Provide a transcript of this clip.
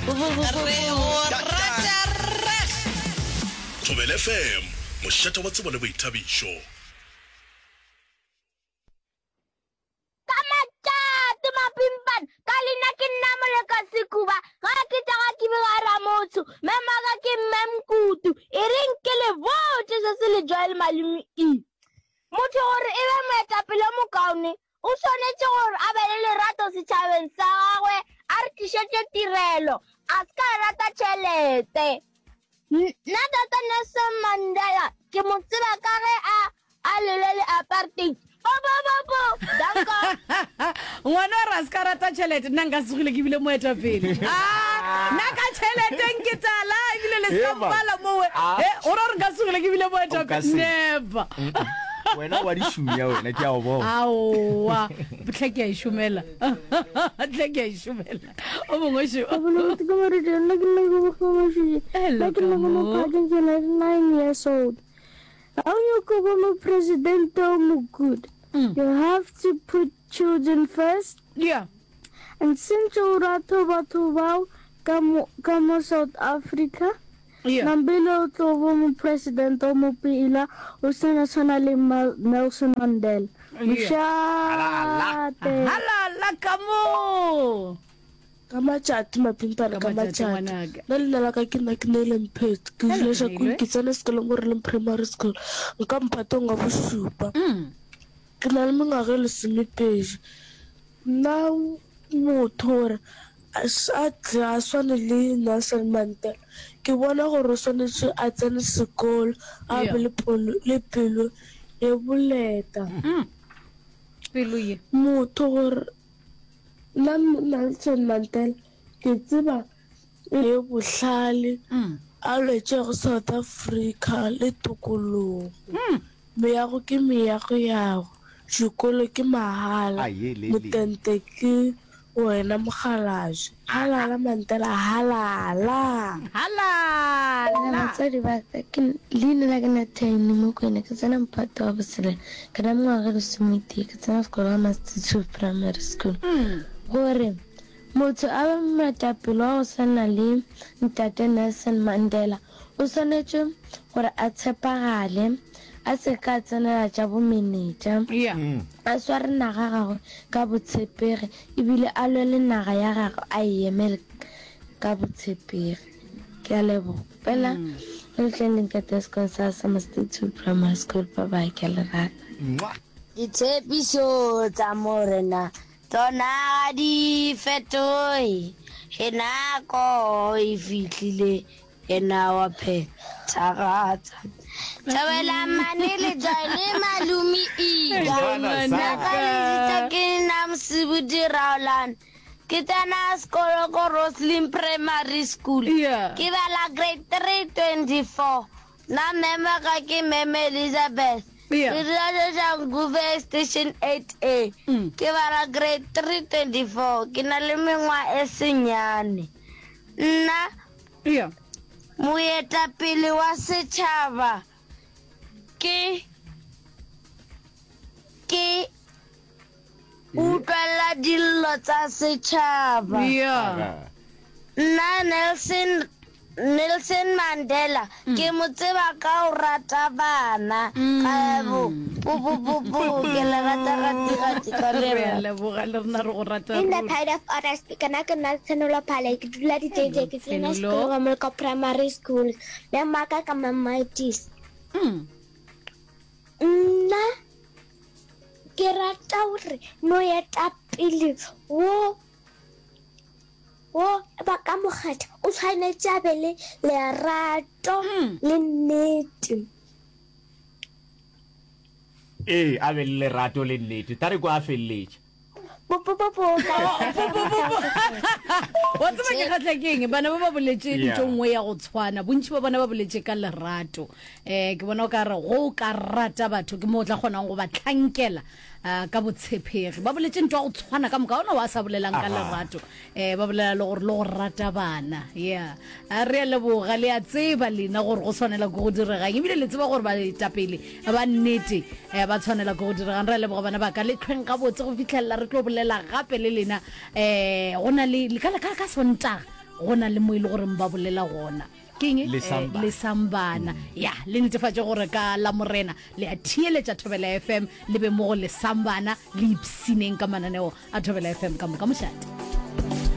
Re go rata reg. Thobela FM, mošate wa tsebo le boithabišo. Ka matšatši mapimpana, ka leina ke nna Moleka Sekuba, ga ke tšaga ke bega Ramotsho, mme maka ke Mme Mkutu. E reng ke le botše se se le Joel Malome I. Motho gore e be moetapele o mokaone, o swanetše gore a be le lerato setšhabeng sa gagwe, a re tlišetše tirelo, a se ka rata tšhelete. Nna Tata Nelson Mandela ke mo tseba ka ge a a lwele le apartheid. Po po po po. Danko. Ngwana o re a se ka rata tšhelete, nna nka se tsogile ke bile moetapele. Ah, nna ka tšhelete nke tala ebile le sa mpala mowe. Eh, o ra gore nka se tsogile ke bile moetapele. Never. Wena wa di šumia wena ke a o bona. Aowa, hle ke a e šomela. Hle ke a e šomela. O mongwe šo. Hello, Kamo. Ke na le 9 years old. How you go be mo president o mo good? Mm. You have to put children first. Yeah. And since o rata batho bao ka mo ka mo South Africa, Yeah. Nambile o tlo bo mo president o mo pila o sena tshwana le Nelson Mandela. Mošate. Halala ka mo. Ka matšatši mapimpana ka matšatši. Nna leina la ka ke nna ke Neile Mphetho. Ke dula Shakung, ke tsena sekolong ko Releng Primary School. Nka mphatong wa bošupa. Ke na le mengwaga e lesomepedi. Nna motho gore a tle a swane le Nelson Mandela, ke bona gore o swanetše a tsene sekolo, a be le pelo, le pelo ye boleta. Pelo ye. Motho gore nna Nelson Mandela ke tseba e le bohlale a lwetšego South Africa le tokologo. Meago ke meago yago, dikolo ke mahala, motente ke wena mokgalabje. Halala Mandela halala! Halala! Batswadi ba ka, ke, leina la ka Nathane Mokwena, ke tsena mphato wa botshelela, ke na mengwaga e lesometee, ke tsena sekolo ga Mastitu Primary School. Gore motho a be moetapele wa go swana le Ntate Nelson Mandela, O swanetše gore a tshepagale, a se ke a tsenela tša bomenetša, a sware naga ya gagwe ka botshepegi e bile a lwele naga ya gagwe a e emele ka botshepegi. Ke a leboga. Fela le tleng le nketele sekolong sa Summer State 2 Primary School. Bye bye, ke a le rata. Ditshepišo tša Morena tšona ga di fetoge, ge nako e fihlile Yena wa phethagatsa. Thobela mane le joine malumi ika. Naka le ditsa ke nna Mosibudi Raolane. Ke tsena sekolo ko Roslyn Primary School. Yeah. Ke bala grade 324. Nna meme ga ke meme Elizabeth. Yeah. Ke dula Soshanguve Station 8A. Mm. Ke bala grade 324. Ke na le mengwa e senyane. Nna Yeah. Moetapele wa setšhaba ke ke utlwela dillo tsa setšhaba. Yeah. Nna Nelson Nelson Mandela ke mo tseba ka go rata bana. Ka bo po po po po ke le rata gati gati ka Re a lerato. leboga le rena re go rata In the ruri. pride of others, ke nna ke nna Tshenolo Phale, ke dula Ditete, ke tsena Tshenolo. sekolo ga Moleko Primary School. Mme maka ka Mamaitisi. Mm. Nna ke rata gore moetapele wo wo ba ka mo kgetha o tshwanetše a be le lerato le nnete. Ee, a be le lerato le nnete. Tla re kwa a feleletša. Wa tseba ke kgahla ke eng? Bana ba ba boletše Yeah. ntho nngwe ya go tshwana. Bontši ba bona ba boletše ka lerato. Um ke bona o ka re go o ka rata batho ke mo o tla kgonang go ba hlankela uh, ka botshepegi. Ba boletše ntho ya go tshwana ka moka, ga ona wa sa bolelang ka lerato. Eh, ba bolela le gore le go rata bana. Yeah. A re a leboga, le a tseba lena gore go tshwanela ke go diregang. Ebile le tseba gore baetapele ba nnete eh, ba tshwanela ke go diregang. Re a leboga bana ba ka, le tlhweng gabotse go fihlelela re tlo bolela gape le lena. Eh, go na le, ka, ka, ka Sontaga. Go na le mo e le goreng ba bolela gona. Ke eng? Lesambana. Lesambana. Ya, le netefatše gore ka Lamorena le a theeletša Thobela FM, le be mo go Lesambana, le ipshineng ka mananeo a Thobela FM ka moka. Mošate.